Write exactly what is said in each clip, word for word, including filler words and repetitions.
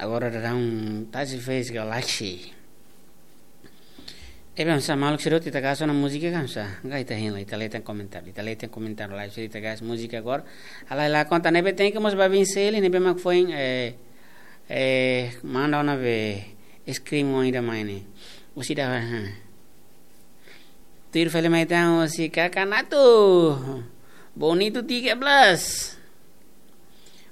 Agora daudaun tasi fez galaxy. Ebe, hamsa, maluk sira hotu, ita gas ona múzika ka hamsa? Ka ita hein lai, ita lee tiha komentáriu, ita lee tiha komentáriu lai, sira ita gas múzika agora. Halai la konta ne'ebé, thank you mós ba Vinceli, ne'ebé mak foin, eh, eh, manda ona be screen oin ida mai ne'e. Husi ida, ha. Tuir fali mai tan husi Kaka Natu. Bonitu tiga belas.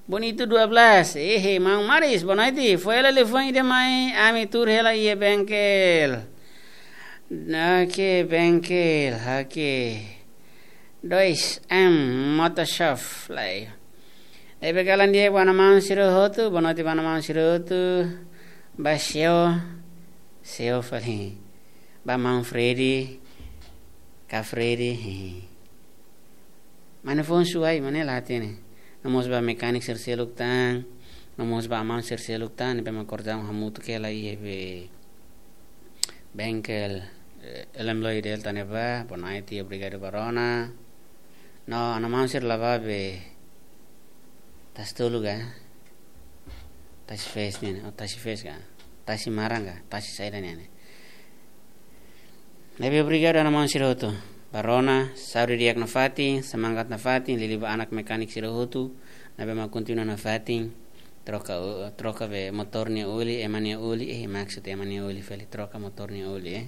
Bonitu dua belas. Ehe, maun Maris, boa noite. Foin hela liafuan ida mai, ami tuur hela iha bengkel. Oke, bengkel, oke. Dois M Motor Shop, lai. Ne'ebé kalan di'ak ba maun sira hotu, boa noite ba maun sira hotu. Ba Seo, Seo fali. Ba maun Freddy, ka Freddy, hehe. Mane fon suai, mane la hatene. No mós ba mekanik sira seluk tan, no mós ba maun sira seluk tan, ne'ebé mak kordaun hamutuk hela iha be bengkel, eh, L M Lloyd Delta ne'ebá, boa noite, obrigadu ba rona. No, maun sira la bá be Tasi Tolu ka? Tasi Fes nian, oh, Tasi Fes ka? Tasi Maran ka? Tasi saida nian ne'e? Ne'ebé obrigadu ba maun sira hotu. Ba rona, saúde di'ak nafatin, semangat nafatin, liuliu ba anak mekanik sira hotu, ne'ebé mak kontinua nafatin, troka, troka be motór nia oli, ema nia oli, eh, maksud ema nia oli fali, troka motór nia oli, eh.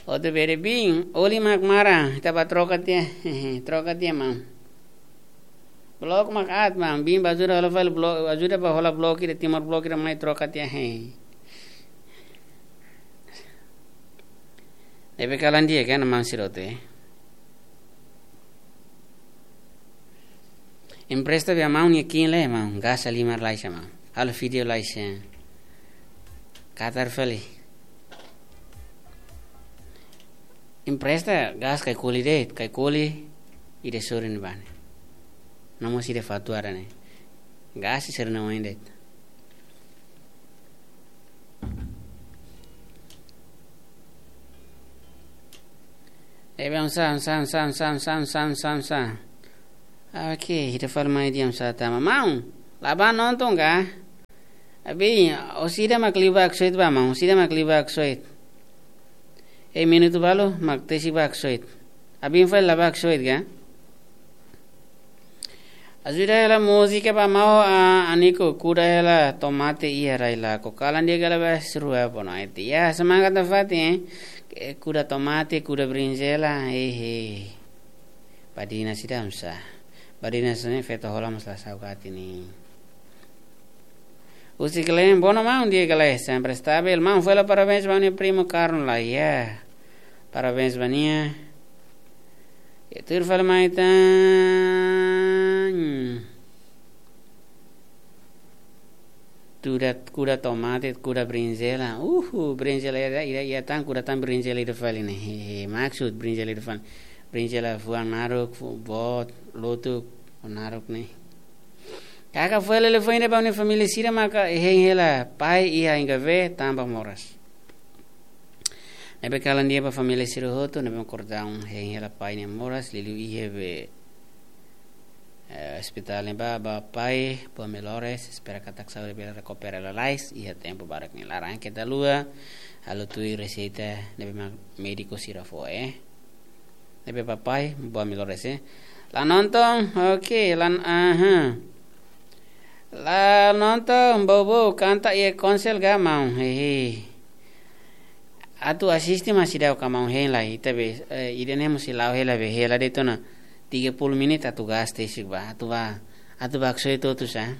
Hotu bere bin, oli mak maran, ita bá troka tiha, troka tiha maun. Blok mak aat maun, bin bá ajuda hola fali blok, ajuda bá hola blok ida, timor blok ida mai troka tiha, he. Ne'ebé kalan di'ak ka maun sira hotu, eh. Empresta be maun nia kiin lai maun, gás halimar lai sa maun. Halo vídeo lai sa. Katar fali. Empresta gás Kaikoli de'it, Kaikoli ida sorin ba ne'e. No mós ida Fatuara ne'e. Gás sira-ne'e oin de'it. Ebe, hamsa, hamsa, hamsa. Oke, ita fali mai di'ak, hamsa tama. Maun, la bá nonton ka? Abin, husi ida mak liu bá Ksoit bá maun, husi ida mak liu bá Ksoit. Eh, minutu balu mak tesi bá Ksoit. Abin fali la bá Ksoit ka? Ajuda hela múzika ba maun, ah, Aniko, kuda hela tomate iha rai lakon. Kalan di'ak ka lae, ba sira rua, boa noite. Ya, semangat nafatin, eh. Kuda tomate, kuda brinjela, eh, eh. Badina sira hamsa. Badina sira-ne'e feto hola mós la saugati ni. Husi Kelen, boa noite maun, di'ak ka lae, sempre estavel. Maun, fali parabéns ba nia primu karun la, ya. Parabéns ba nia. Ya, tuur fali mai tan. Kuda, kuda tomate, kuda brinjela. Uhu, brinjela ida, ida, ida tan, kuda tan brinjela ida fali ne'e. He, he, maksud brinjela ida fali. Brinjela fuan naruk, fu-, boot, lotuk, naruk ne'e. Kaka fali liafuan ida ba nia família sira maka hein hela pai iha Ingavé, tanba moras. Ne'ebé kalan di'ak ba família sira hotu, ne'ebé mak kordaun hein hela pai nia moras, liuliu iha be, eh, ospitál ne'ebá, ba pai, boa melhoras, espera katak saúde bele rekupera lalais, iha tempu badak nia laran. Keta haluha, halo tuir reseita, ne'ebé mak médiku sira fó, eh. Ne'ebé ba pai, boa melhoras, eh. La nonton, oke, la, aha. La nonton, bobo, kanta iha konsel ka maun, hehe. Atu asiste mak seidauk ka maun, hein lai, ita be, eh, ida-ne'e mós sei la'o hela be, hela de'it ona tiga puluh menit atu gás tesik bá, atu bá, atu bá Ksoit hotu sa.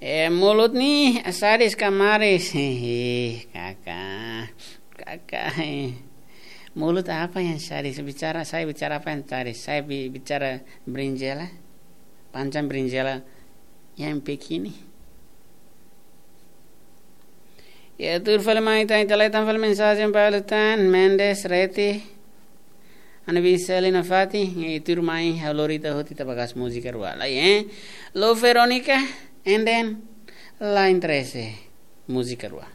Eh, mulut ne'e sadis ka manis? Hehe, Kaka. Kaka, eh. Mulut apa yang sadis? Bicara, saya bicara apa yang sadis? Saya bi-, bicara brinjela. Panjang brinjela yang begini. Ya, tuur fali mai tan, ita leten fali mensajen balu tan, Mendes Reti. Ana bin Selina Fati, e tuur mai, ha'u lori ita hotu ita bá gás múzika rua. Lai, eh? Lo Veronica, and then, la interese, múzika rua.